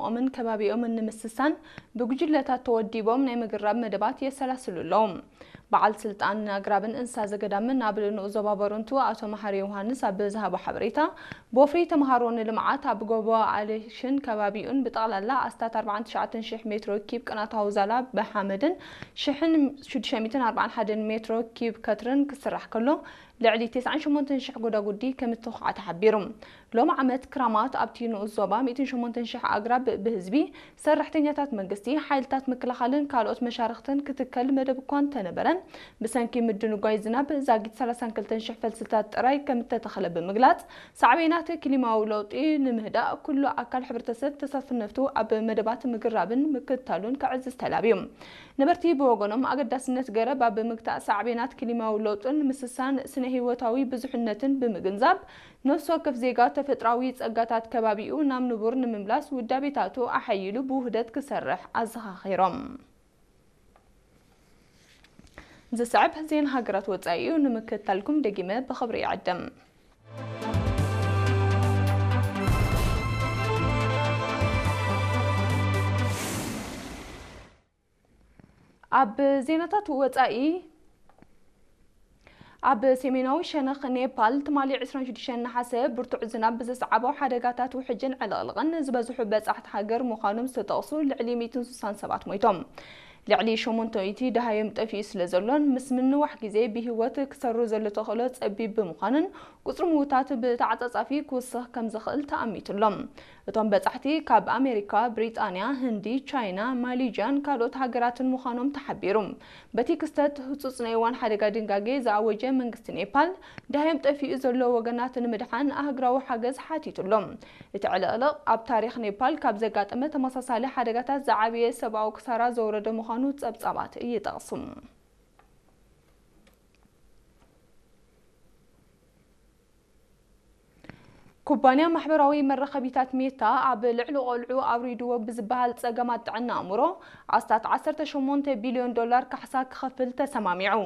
ኦምን ከባቢኦምን ንምስሳን ብጉጅለታት ተወዲቦም ናይ ምግራብ መደባት የሰላስሉ ኣለዉ። በዓል ስልጣን ኣግራብን እንስሳ ዘገዳምን ኣብ ንኡስ ዞባ በረንቱ ኣቶ መሓሪ ዮሃንስ ኣብ ዝሃቦ ሓበሬታ፣ ብወፍሪ ተምሃሮ ንልምዓት ኣብ ጎቦ ኣሌሽን ከባቢኡን ብጠቕላላ ኣስታት ኣርባዓን ትሽዓተን ሽሕ ሜትሮ ኪብ ቅናታዊ ዛላ ብሓመድን ሽሕን ሽዱሽተ ሚእትን ኣርባዓን ሓደን ሜትሮ ኪብ ከትርን ክስራሕ ከሎ፣ ልዕሊ ተስዓን ሸሞንተን ሽሕ ጎዳጉዲ ከም እተኹዓ ተሓቢሩ። ሎሚ ዓመት ክራማት ኣብቲ ንኡስ ዞባ ሚእትን ሸሞንተን ሽሕ ኣግራብ ብህዝቢ፣ ሰራሕተኛታት መንግስቲ፣ ሓይልታት ምክልኻልን ካልኦት መሻርኽትን ክትከል መደብ እኳ እንተነበረ፣ ብሰንኪ ምድንጓይ ዝናብ ዛጊት ሰላሳን ክልተን ሽሕ ፈልስታት ጥራይ ከም እተተኽለ ብምግላጽ፣ ሳዕቤናት ክሊማዊ ለውጢ ንምህዳእ ኩሉ ኣካል ሕብረተሰብ ተሳትፍነቱ ኣብ መደባት ምግራብን ምክትታሉን ከዕዝዝ ተላብዩ። ነበርቲ ብወገኖም፣ ኣገዳስነት ገረብ ኣብ ምግታእ ሳዕቤናት ክሊማዊ ለውጥን ምስሳን ስነ ህይወታዊ ብዙሕነትን ብምግንዛብ፣ ነፍሲ ወከፍ ዜጋ ተፈጥራዊ ጸጋታት ከባቢኡ ናብ ንቡር ንምምላስ ውዳቤታቱ ኣሐይሉ ብውህደት ክሰርሕ ኣዘኻኺሮም። ዝስዕብ ዜና ሃገራት ወጻኢ እዩ፣ ንምክትታልኩም ደጊመ ብኽብሪ ይዕድም። ኣብ ዜናታት ወጻኢ፣ ኣብ ሰሜናዊ ሸነኽ ኔፓል ትማሊ ዕስራን ሽዱሽተን ነሓሰ ብርቱዕ ዝናብ ብዘስዓቦ ሓደጋታት ውሕጅን ዕልቕልቕን ዝበዝሑ በጻሕቲ ሃገር ምዃኖም ዝተጠቕሱ ልዕሊ ሚእትን ስሳን ሰባት ሞይቶም። ልዕሊ ሸሞንተ ሚእቲ ደሃዮም ጠፊኡ ስለ ዘሎን ምስ ምንዋሕ ግዜ ብህይወት ክሰሩ ዘሎ ተኽእሎ ጸቢብ ብምዃኑን ቁጽሪ ምዉታት ብተዓጻጻፊ ክውስኽ ከም ዝኽእል ተኣሚቱ ኣሎ። እቶም በጻሕቲ ካብ ኣሜሪካ፣ ብሪጣንያ፣ ህንዲ፣ ቻይና፣ ማሌዥያን ካልኦት ሃገራትን ምዃኖም ተሓቢሩ። በቲ ክስተት ህጹጽ ናይ እዋን ሓደጋ ድንጋጌ ዝኣወጀ መንግስቲ ኔፓል፣ ደሃዮም ጠፊኡ ዘሎ ወገናት ንምድሓን ኣህጉራዊ ሓገዝ ሓቲቱ ኣሎ። እቲ ዕልቕልቕ ኣብ ታሪኽ ኔፓል ካብ ዘጋጠመ ተመሳሳሊ ሓደጋታት ዝዓበየ ሰብኣዊ ክሳራ ዘውረደ ምዃኑ ጸብጻባት ይጠቕሱ። ኩባንያ ማሕበራዊ መራኸቢታት ሜታ ኣብ ልዕሊ ቆልዑ ኣውሪድዎ ብዝበሃል ጸገማት ጥዕና ኣእምሮ ኣስታት ዓሰርተ ሸሞንተ ቢልዮን ዶላር ካሕሳ ክኸፍል ተሰማሚዑ።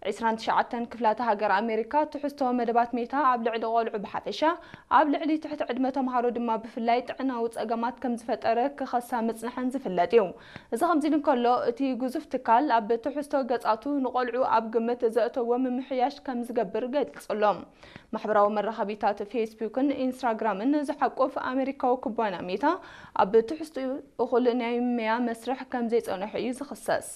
ዕስራን ትሽዓተን ክፍላተ ሃገር ኣሜሪካ ትሕዝቶ መደባት ሜታ ኣብ ልዕሊ ቆልዑ ብሓፈሻ፣ ኣብ ልዕሊ ትሕቲ ዕድመ ተምሃሮ ድማ ብፍላይ ጥዕናዊ ጸገማት ከም ዝፈጠረ ክኸሳ ምጽንሐን ዝፍለጥ እዩ። እዚ ከምዚ ኢሉ እንከሎ፣ እቲ ግዙፍ ትካል ኣብ ትሕዝቶ ገጻቱ ንቆልዑ ኣብ ግምት ዘእተዎ ምምሕያሽ ከም ዝገብር ገሊጹ ኣሎ። ማሕበራዊ መራኸቢታት ፌስቡክን ኢንስታግራምን ዝሓቁፍ ኣሜሪካዊ ኩባንያ ሜታ፣ ኣብ ትሕዝትኡ እኹል ናይ መያ መስርሕ ከም ዘይጸንሑ እዩ ዝኽሰስ።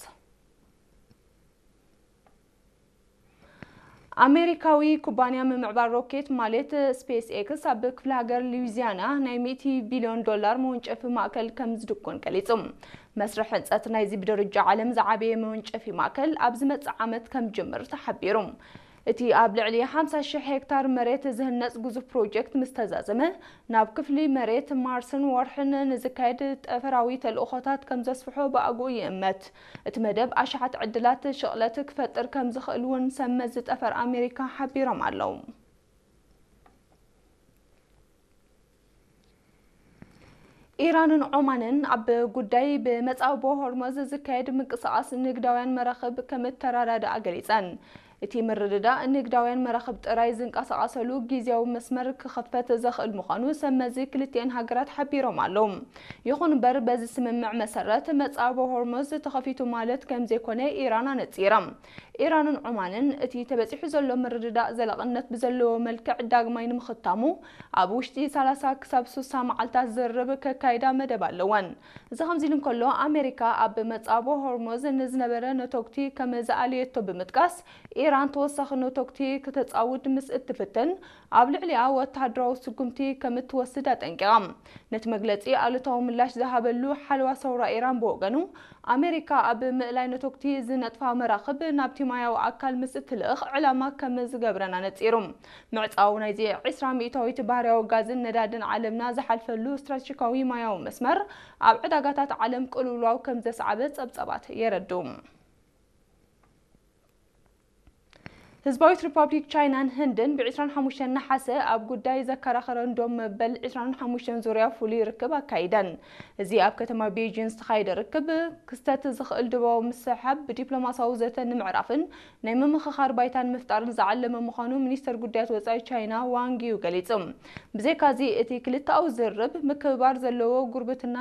ኣሜሪካዊ ኩባንያ ምምዕባል ሮኬት ማለት ስፔስ ኤክስ ኣብ ክፍለ ሃገር ሉዊዚያና ናይ ሚእቲ ቢልዮን ዶላር መወንጨፊ ማእከል ከም ዝድኩን ገሊጹ። መስርሕ ህንጸት ናይዚ ብደረጃ ዓለም ዝዓበየ መወንጨፊ ማእከል ኣብ ዝመጽእ ዓመት ከም ዝጅምር ተሓቢሩ። እቲ ኣብ ልዕሊ ሓምሳ ሽሕ ሄክታር መሬት ዝህነጽ ግዙፍ ፕሮጀክት ምስ ተዛዘመ፣ ናብ ክፍሊ መሬት ማርስን ወርሕን ንዝካየድ ጠፈራዊ ተልእኾታት ከም ዘስፍሖ ብኣግኡ ይእመት። እቲ መደብ ኣሽሓት ዕድላት ሽቕለት ክፈጥር ከም ዝኽእል እውን ሰብ መዚ ጠፈር ኣሜሪካ ሓቢሮም ኣለዉ። ኢራንን ዖማንን ኣብ ጉዳይ ብመጻብቦ ሆርሞዝ ዝካየድ ምንቅስቓስ ንግዳውያን መራኽብ ከም እተረዳድኣ ገሊጸን። እቲ ምርድዳእ ንግዳውያን መራኽብ ጥራይ ዝንቀሳቐሰሉ ግዝያዊ መስመር ክኸፈት ዘኽእል ምዃኑ ሰብ መዚ ክልቲኤን ሃገራት ሓቢሮም ኣለዉ። ይኹን እምበር፣ በዚ ስምምዕ መሰረት መጻብቦ ሆርሞዝ ተኸፊቱ ማለት ከም ዘይኮነ ኢራን ኣነጺራ። ኢራንን ዖማንን እቲ ተበጺሑ ዘሎ ምርድዳእ ዘላቕነት ብዘለዎ መልክዕ ዳግማይ ንምኽታሙ ኣብ ውሽጢ ሰላሳ ክሳብ ስሳ መዓልታት ዝርርብ ከካይዳ መደብ ኣለወን። እዚ ከምዚ ኢሉ እንከሎ፣ ኣሜሪካ ኣብ መጻብቦ ሆርሞዝ ንዝነበረ ነቶግቲ ከም ዝኣለየቶ ብምጥቃስ፣ ኢራን ተወሳኺ ነቶግቲ ክተጻውድ ምስ እትፍትን፣ ኣብ ልዕሊኣ ወተሃደራዊ ስጉምቲ ከም እትወስድ ኣጠንቂቓ። ነቲ መግለጺ ኣሉታዊ ምላሽ ዝሃበሉ ሓለዋ ሰውራ ኢራን ብወገኑ፣ ኣሜሪካ ኣብ ምእላይ ነቶግቲ ዝነጥፋ መራኽብ ናብቲ ማያዊ ኣካል ምስ እትልእኽ ዕላማ ከም ዝገብረን ኣነጺሩ። ምዕጻው ናይዚ ዕስራ ሚእታዊት ባህርያዊ ጋዝን ነዳድን ዓለምና ዝሓልፈሉ ስትራቴጂካዊ ማያዊ መስመር ኣብ ዕዳጋታት ዓለም ቅልውላው ከም ዘስዓበ ጸብጻባት የረድኡ። ህዝባዊት ሪፓብሊክ ቻይናን ህንድን ብ ዕስራን ሓሙሽተን ነሓሰ ኣብ ጉዳይ ዘከራኸረን ዶብ መበል ዕስራን ሓሙሽተን ዙርያ ፍሉይ ርክብ ኣካይደን። እዚ ኣብ ከተማ ቤጂን ዝተኻየደ ርክብ፣ ክስተት ዝኽእል ዶባዊ ምስሕሓብ ብዲፕሎማሲያዊ ዘተ ንምዕራፍን ናይ ምምኽኻር ባይታን ምፍጣርን ዝዓለመ ምዃኑ ሚኒስተር ጉዳያት ወጻኢ ቻይና ዋንግ ዩ ገሊጹ። ብዘይካዚ፣ እቲ ክልተኣዊ ዝርርብ ምክብባር ዘለዎ ጉርብትና